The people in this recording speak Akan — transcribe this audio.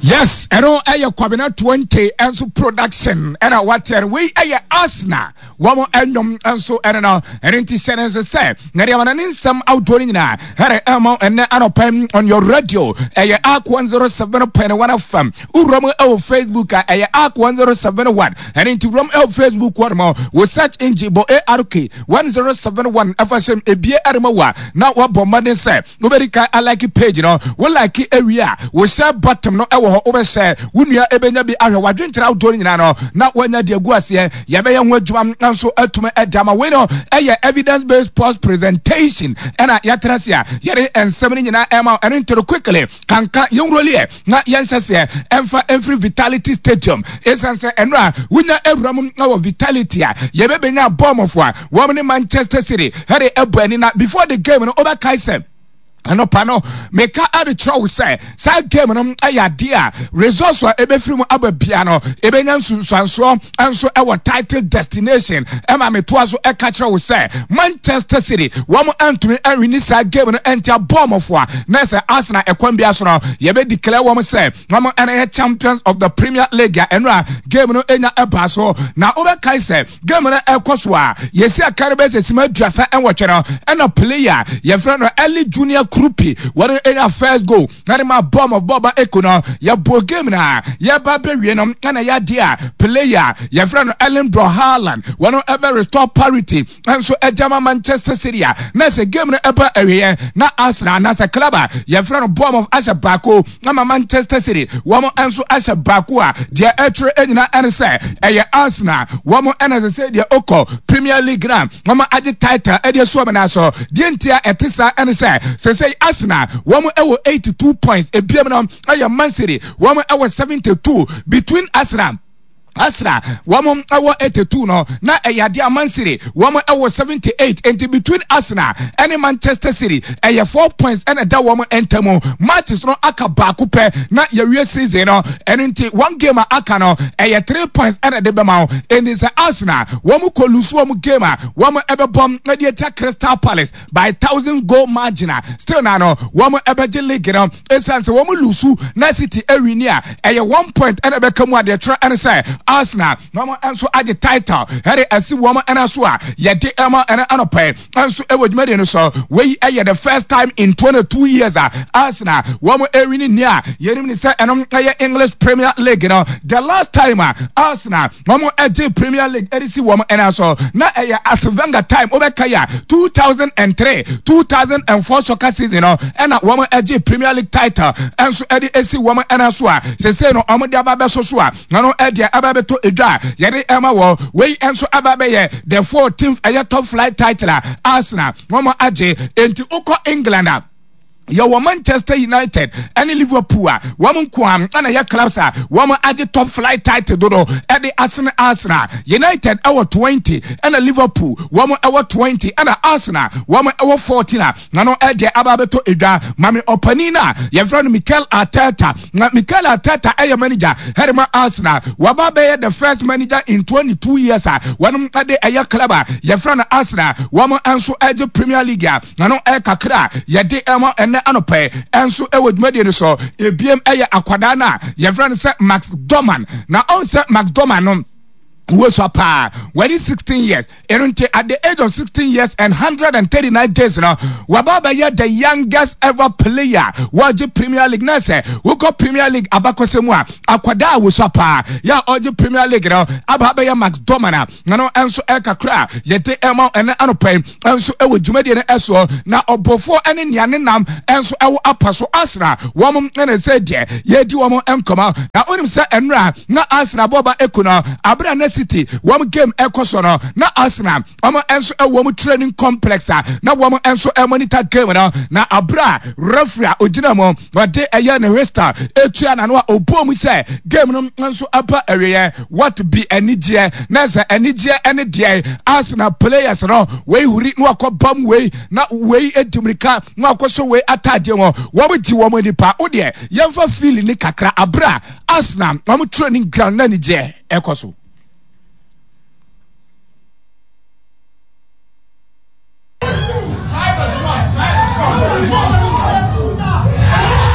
Yes, ɛno ɛyɛ Kwabena 20 nso production ɛna wateɛ no. Wei ɛyɛ Arsenal wɔn ɛnwom nso ɛno no. Ɛno nti hyɛ no nso sɛ na deɛ wɔn ne nsɛm ahodoɔ no nyinaa ɛrɛ ɛma ɛnɛ anɔpa on your radio ɛyɛ Ark 107.1 FM. Wura mu ɛwɔ Facebook a ɛyɛ Ark 107.1. Ɛno nti wura mu ɛwɔ Facebook hɔ nom wɔ search engine bɔ ARK 1071 ɛfa hyɛm ebie ɛrema wa na wabɔ mmɔden sɛ Wobɛdi kan alike page no. Wo like awie a, wo share button no wɔ hɔ. Wobɛhyɛ wo nua ɛbɛnya bi ahwɛ w'adwenkyerɛ ahodoɔ no nyinaa no na wanya de agu aseɛ. Yɛbɛyɛ ho adwuma nso atumi de ama. Wei no ɛyɛ evidence based post presentation ɛna yɛatena ase a yɛde nsɛm no nyinaa ɛma wo. Ɛno nti no quickly kanka yɛnwuroliɛ na yɛnhyɛ seɛ ɛmfa ɛmfiri Vitality Stadium. Ɛsiane sɛ ɛno a wonya awura mu wɔ Vitality a yɛbɛbɛnya Bournemouth a wɔn ne Manchester City ɛde ɛbɔ ani na before the game no wobɛkae sɛ anɔpa no meka ade kyerɛ wo sɛ saa game no ɛyɛ adeɛ a results a ɛbɛfiri mu aba bia no ɛbɛnya nsunsuansoɔ nso ɛwɔ title destination. Ɛma metoa so ɛka kyerɛ wo sɛ Manchester City wɔn antumi anwini saa game no ɛntia Bournemouth a na sɛ Arsenal ɛkwan bia so no yɛbɛ declare wɔn sɛ wɔn ɛna yɛ champions of the Premier League a ɛno a game no ɛnya ɛbaa so. Na wobɛkae sɛ game no ɛkɔ so a yɛsi aka no bɛsɛ sima 38 no ɛna player yɛfrɛ no Eli Junior Kroupi wɔn ɛnya first goal na de ma Bournemouth bɔɔba eko no. Yɛbɔ game na yɛba bɛwie no ɛna yɛadeɛ a player yɛfrɛ no Erling Haaland wɔn ɛbɛ restore parity nso ɛgya ma Manchester City a na sɛ game no ɛba awieɛ na Arsenal anaasɛ club a yɛfrɛ no Bournemouth ahyɛ baako ama Manchester City wɔn nso ahyɛ baako a deɛ ɛtwerɛ nyinaa ɛne sɛ ɛyɛ Arsenal wɔn ɛna sɛ sɛ deɛ ɔkɔ Premier League na wɔn agye title ɛde asu wɔn nan so. Deɛ nti a ɛte saa ɛne sɛ sɛ Arsenal wɔn ɛwɔ 82 points, ebiem no ɛyɛ Man City wɔn ɛwɔ 72. Between Arsenal wɔn ɛwɔ 82 no na ɛyɛ adeɛ a Man City wɔn ɛwɔ 78. Nti between Arsenal ɛne Manchester City ɛyɛ 4 points ɛna ɛda wɔn ntam. Matches no aka baako pɛ na yɛwie season no. Ɛno nti one game a aka no ɛyɛ 3 points ɛna ɛde bɛma wo. Nti sɛ Arsenal wɔn kɔ lose wɔn game a wɔn ɛbɛbɔ ɛde atia Crystal Palace by 1,000 goal margin a, still na no wɔn ɛbɛgye league no. Ɛsiane sɛ wɔn lose na City ɛwini a, ɛyɛ 1 point ɛna ɛbɛka mu a deɛ kyerɛ ɛne sɛ Arsenal wɔn nso agye title ɛde asi wɔn ɛna so a yɛde ɛma ɛna anɔpɛ nso ɛwɔ dwumadie no so. Wei ɛyɛ the first time in 22 years a Arsenal wɔn ɛwini nea yɛnim ne sɛ ɛnom ɛyɛ English Premier League no. The last time a Arsenal wɔn ɛgye Premier League ɛde si wɔn ɛna so na ɛyɛ Arsene Wenger time. Wobɛka yɛ a, 2003 2004 soccer season no ɛna wɔn ɛgye Premier League title ɛnso ɛde esi wɔn ɛna so a sese no wɔn de aba bɛso so a ɛno ɛdeɛ aba bɛtɔ edwa a yɛde ɛma wɔ. Wei nso aba bɛyɛ the 14th ɛyɛ top flight title a Arsenal wɔn agye. Enti wokɔ England a, yɛwɔ Manchester United ɛne Liverpool a wɔn nko a ɛna yɛ clubs a wɔn agye top flight title dodo ɛde asene Arsenal. United ɛwɔ 20, ɛna Liverpool wɔn ɛwɔ 20, ɛna Arsenal wɔn ɛwɔ 14 a na no ɛdeɛ aba abɛtɔ edwa. Maame ɔpanin a yɛfrɛ no Mikel Arteta, na Mikel Arteta ɛyɛ manager ɛde ma Arsenal. Waba bɛyɛ the first manager in 22 years a wɔn ɛde ɛyɛ club a yɛfrɛ no Arsenal wɔn nso ɛgye Premier League a na no ɛkakra a yɛde ɛma ɛnɛ anɔpɛ ɛnso ɛwɔ dwumadie no so. Ebiem ɛyɛ akwadaa no a yɛfrɛ no sɛ Max Dowman, na ɔn sɛ Max Dowman no wosua paa, wɔde 16 years. Ɛno nti at the age of 16 years and 139 days no waba bɛyɛ the youngest ever player wɔgye Premier League. Na sɛ wokɔ Premier League abakɔsɛ mu a, akwadaa a wosua paa yɛ a ɔgye Premier League no aba bɛyɛ Max Dowman a na no nso ɛkakra a yɛde ɛma ɛnɛ anɔpɛ nso ɛwɔ dwumadie no ɛsoɔ. Na ɔbɔfoɔ ɛne nea ne nam nso ɛwɔ apa so Arsenal wɔn ɛna sɛ deɛ yɛdi wɔn nkɔmɔ. Na onim sɛ ɛnora na Arsenal bɔba eko no abere na City wɔn game ɛkɔ so no, na Arsenal wɔn nso ɛwɔ wɔn training complex a na wɔn nso ɛmonitor game no. Na abere a referee a ogyina mu wɔde ɛyɛ ne whistle etua n'ano a ɔbɔ mu sɛ game no nso aba awieɛ, what be anigyeɛ na sɛ anigyeɛ ɛne deɛ Arsenal players no wei huri na wakɔ bam wei na wei edi mirika na wakɔ so wei ataadeɛ wɔn wɔn gye wɔn nipa o deɛ yɛmfa feel ne kakra abere a Arsenal wɔn training ground na anigyeɛ ɛkɔ so.